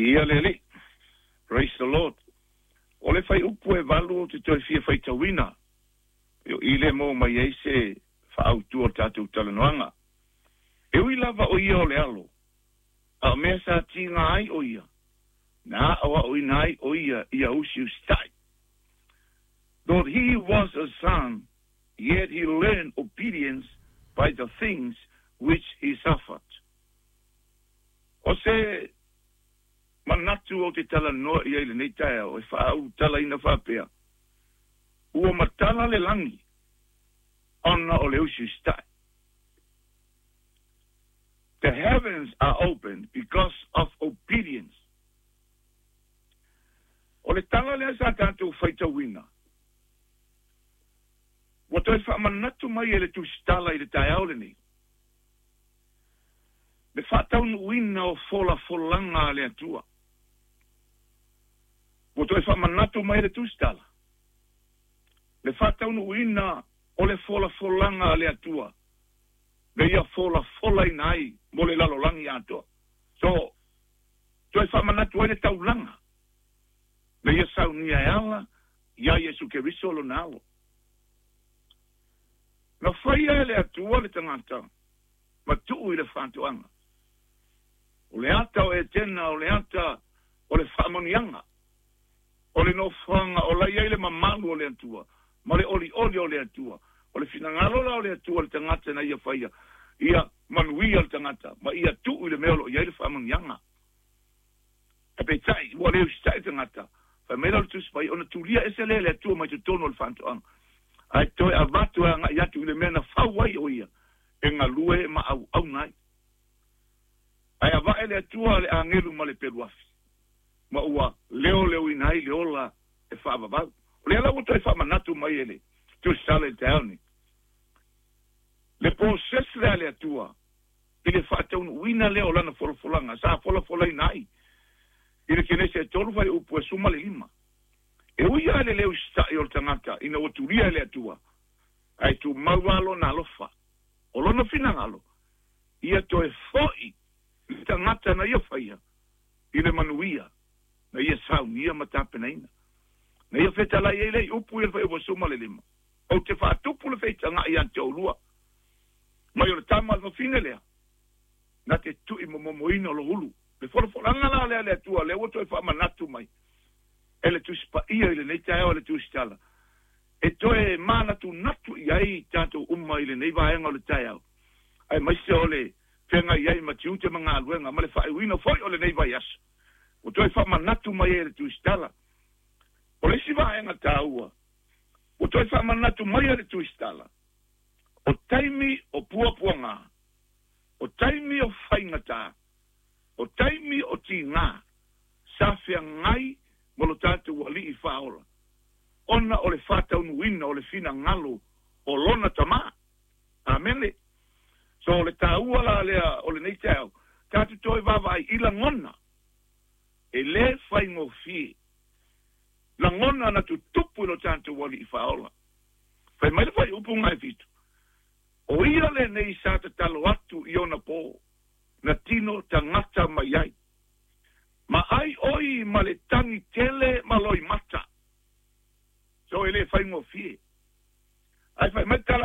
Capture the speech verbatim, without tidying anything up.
Viia le Alii. Praise the Lord. O le fuaiupu e valu ou te toe fia faitauina. O i lea e maua mai ai se faaautu o le tatou talanoaga. E ui lava o ia o le Alo, a o mea sa tiga ai o ia, na aoaoina ai o ia ia usiusitai. Though he was a son, yet he learned obedience by the things which he suffered. O se manatu ou te talanoa i ai i lenei taeao e faaulutalaina faapea, ua matala le lagi ona o le usiusitai. The heavens are opened because of obedience. O le tala lea sa tatou faitauina, ua toe faamanatu mai e le Tusitala i le taeao lenei, le faataunuuina o folafolaga a le Atua. Ua toe faamanatu mai e le Tusitala, le faataunuuina o le folafolaga a le Atua, le ia folafolaina ai mo le lalolagi atoa. So, toe faamanatu ai le taulaga, le ia saunia e ala iā Iesu Keriso lona Alo. Na faia e le Atua le tagata ma tuu i le faatoaga. O le ata o Etena, o le ata o le faamanuiaga, o le nofoaga o la i ai le mamalu o le Atua ma le olioli o le Atua. O le finagalo la o le Atua le tagata na ia faia, ia manuia le tagata ma ia tuu i le mea o lo o i ai le faamanuiaga. Ae peitai, ua le usitai le tagata, fai mai la o le Tusi Paia, ona tulia ese lea e le Atua mai totonu o le faatoaga, ae toe avatu e agai atu i le mea na fau ai o ia e galue ma auauna ai. Ae avae le Atua le agelu ma le peluafi, ma ua leoleoina ai le ola e faavavau. O lea la ua toe faamanatu mai e le Tusitala i le taeao nei, le process lea a le Atua i le faataunuuina lea o Lana folafolaga sa folafolaina ai i le Kenese e tolu fuaiupu e suma le lima. E ui lava i le le usitai o le tagata ina ua tulia e le Atua, ae tumau lava Lona alofa. O Lona finagalo, ia toe foi le tagata na ia faia i le manuia na ia saunia ma tapenaina. Na ia fetalai ai le upu i le fuaiupu e suma le lima. Ou te faatupu le feitagai ia te oulua, mai o le tama a le fafine lea, na te tui momomoina o lou ulu. Le folafolaga la lea a le Atua, lea ua toe faamanatu mai e le Tusi Paia i lenei taeao a le Tusitala, e toe manatunatu i ai tatou uma i lenei vaega o le taeao, aemaise o le feagai ai ma tiute ma galuega ma le faaiuina foi o lenei vaiaso, ua toe faamanatu mai ai e le Tusitala. O le isi vaega taua ua toe faamanatu mai e le Tusitala, o taimi o puapuaga, o taimi o faigata, o taimi o tigā, sa feagai ma lo tatou Alii Faaola, ona o le faataunuuina o le finagalo o Lona Tama. Amene. So, o le taua la lea o lenei taeao, tatou toe vaavaai i lagona e lē faigofie, lagona na tutupu i lo tatou Alii Faaola. Fai mai le fuaiupu gaefitu, O ia lenei sa tatalo atu i ona pō, na tino tagata mai ai. Ma ai oi ma le tagi tele ma loimata. So e le faigofie. Ae fai mai le tala